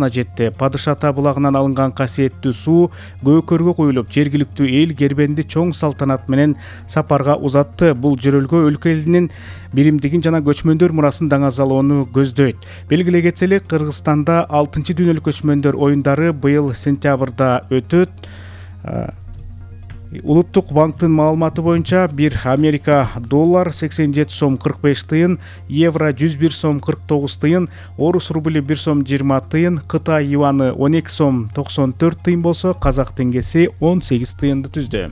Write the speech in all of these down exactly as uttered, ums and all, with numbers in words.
жетти. Падыш ата булагынан алынган касиеттүү суу көкөргө куюлуп, жергиликтүү эл Кербенди чоң салтанат менен сапарга узатты. Бул жөрөлгө өлкө элинин биримдигин жана көчмөндөр мурасын даңазалоону көздөйт. Белгилей кетсе эле, Кыргызстанда алтынчы дүйнөлүк көчмөндөр оюндары быйыл сентябрда өтөт. Улуттук банктын маалыматы боюнча бир Америка доллар сексен жети сом кырк беш тыйын, евро жүз бир сом кырк тогуз тыйын, орус рубли бир сом жыйырма тыйын, Кытай юаны он эки сом токсон төрт тыйын болсо, казак теңгеси он сегиз тыйынды түздү.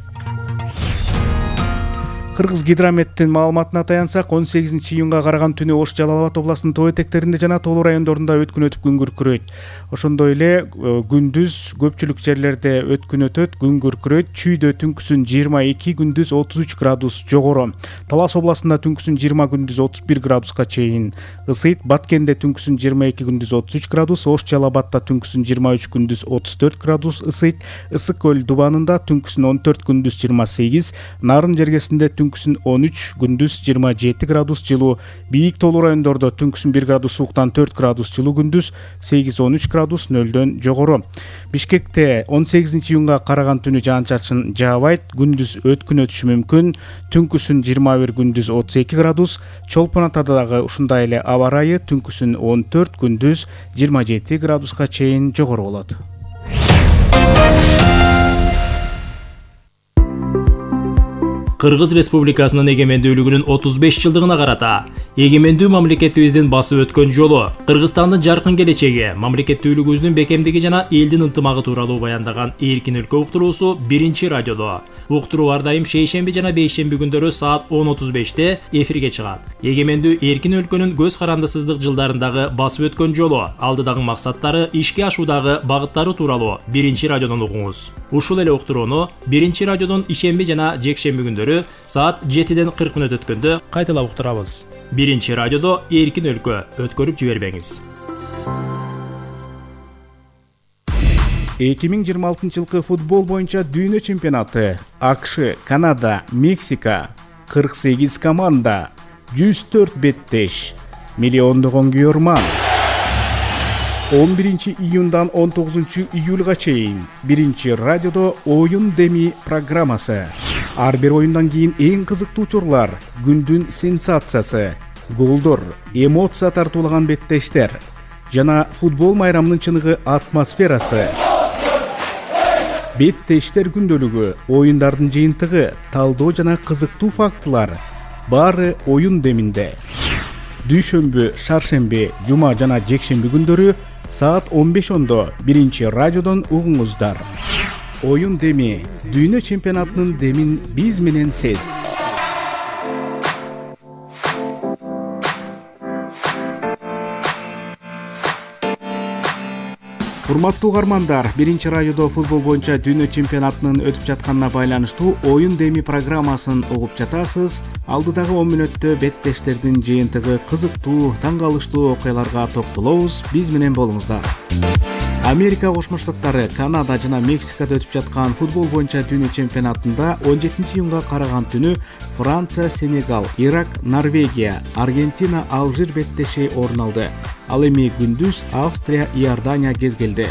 Кыргыз гидрометтин маалыматына таянсак, он сегизинчи июнга караган түнү Ош Жалал Абад областынын тоо этектеринде жана тоолуу райондорунда өткүн өтүп күн күркүрөйт. Ошондой эле күндүз көпчүлүк жерлерде өткүн өтөт, күн күркүрөйт. Чүйдө түнкүсүн жыйырма эки, күндүз отуз үч градус жогору. Талас областында түнкүсүн жыйырма, күндүз отуз бир градуска чейин ысыйт. Баткенде түнкүсүн жыйырма эки, күндүз отуз үч градус, Ош Жалал Абадта түнкүсүн жыйырма үч, күндүз отуз төрт градус ысыйт. Ысык көл Дубанында түнкүсүн он төрт, күндүз жыйырма сегиз, Нарын жергесинде түнкүсүн он үч, күндүз жыйырма жети градус жылуу. Бийик тоолуу райондордо түнкүсүн бир градус сууктан төрт градус жылуу, күндүз сегиз он үч градус нөлдөн жогору. Бишкекте он сегизинчи июнга караган түнү жаан-чачын жаабайт, күндүз өткүн өтүшү мүмкүн. Түнкүсүн жыйырма бир, күндүз отуз эки градус. Чолпон Атада дагы ушундай эле аба ырайы, түнкүсүн он төрт, күндүз жыйырма жети градуска чейин жогору болот. Кыргыз Республикасынын эгемендүүлүгүнүн отуз беш жылдыгына карата эгемендүү мамлекетибиздин басып өткөн жолу, Кыргызстандын жаркын келечеги, мамлекеттүүлүгүбүздүн бекемдиги жана элдин ынтымагы тууралуу баяндаган Эркин өлкө уктуруусу биринчи радиодо. Уктуруу ар дайым шейшемби жана бейшемби күндөрү саат он отуз беште эфирге чыгат. Эгемендүү эркин өлкөнүн көз карандысыздык жылдарындагы басып өткөн жолу, алдыдагы максаттары, ишке ашуудагы багыттары тууралуу биринчи радиодон угуңуз. Ушул эле уктурууну биринчи радиодон ишемби жана жекшемби күндөрү саат жетиден кырк мүнөт өткөндө кайталап уктурабыз. биринчи радиодо Эркин өлкө, өткөрүп жибербеңиз. эки миң жыйырма алтынчы жылкы футбол боюнча дүйнө чемпионаты. АКШ, Канада, Мексика, кырк сегиз команда, жүз төрт беттеш, миллиондогон күйөрман. он биринчи июндан он тогузунчу июлга чейин биринчи радиодо оюн деми программасы. Ар бир оюндан кийин эң кызыктуу учурлар, күндүн сенсациясы, голдор, эмоция тартуулаган беттештер жана футбол майрамынын чыныгы атмосферасы. Беттештер күндөлүгү, оюндардын жыйынтыгы, талдоо жана кызыктуу фактылар баары оюн деминде. Дүйшөмбү, шаршемби, жума жана жекшемби күндөрү саат он беш ондо биринчи радиодон угуңуздар. Оюн деми, дүйнө чемпионатынын демин биз менен сез. Урматтуу угармандар, биринчи радиодо футбол боюнча дүйнө чемпионатынын өтүп жатканына байланыштуу оюн деми программасын угуп жатасыз. Алдыдагы он мүнөттө беттештердин жыйынтыгы, кызыктуу, таң калыштуу окуяларга токтолобуз. Биз менен болуңуздар. Америка Кошмо Штаттары, Канада жана Мексикада өтүп жаткан футбол боюнча дүйнө чемпионатында он жетинчи июнга караган түнү Франция, Сенегал, Ирак, Норвегия, Аргентина, Алжир беттеши орун алды. Ал эми күндүз Австрия, Иордания кезгелди.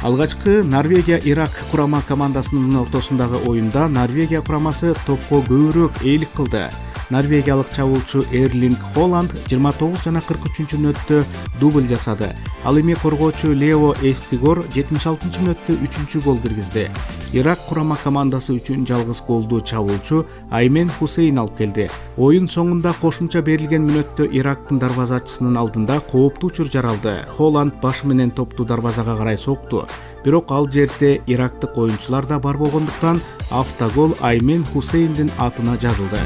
Алгачкы Норвегия-Ирак курама командасынын ортосундагы оюнда Норвегия курамасы топко көбүрөөк ээлик кылды. Норвегиялык чабуулчу Эрлинг Холланд жыйырма тогуз жана кырк үчүнчү мүнөттө дубль жасады. Ал эми коргоочу Лео Эстигор жетимиш алтынчы мүнөттө үчүнчү гол киргизди. Ирак курама командасы үчүн жалгыз голду чабуулчу Аймен Хусейн алып келди. Оюн соңунда кошумча берилген мүнөттө Ирактын дарбазачысынын алдында кооптуу учур жаралды. Холланд башы менен топту дарбазага карай сокту. Бирок ал жерде ирактык оюнчулар да бар болгондуктан автогол Аймен Хусейндин атына жазылды.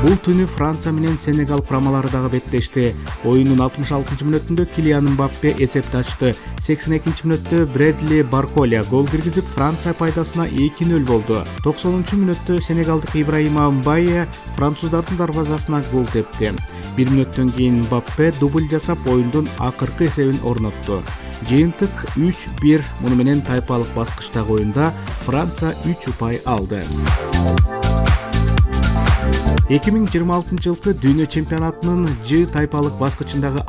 Бул түнү Франция менен Сенегал курамалары дагы беттешти. Оюндун алтымыш алтынчы мүнөтүндө Килиан Мбаппе эсепти ачты. сексен экинчи мүнөттө Бредли Барколя гол киргизип, Франция пайдасына эки нөл болду. токсонунчу мүнөттө Сенегалдык Ибраима Мбае француздардын дарбазасына гол тепти. бир мүнөттөн кийин Мбаппе дубль жасап, оюндун акыркы эсебин орнотту. Жыйынтык үч бир. Муну менен тайпалык баскычтагы оюнда Франция үч упай алды. эки миң жыйырма алтынчы жылкы дүйнө чемпионатынын Ж тайпалык баскычындагы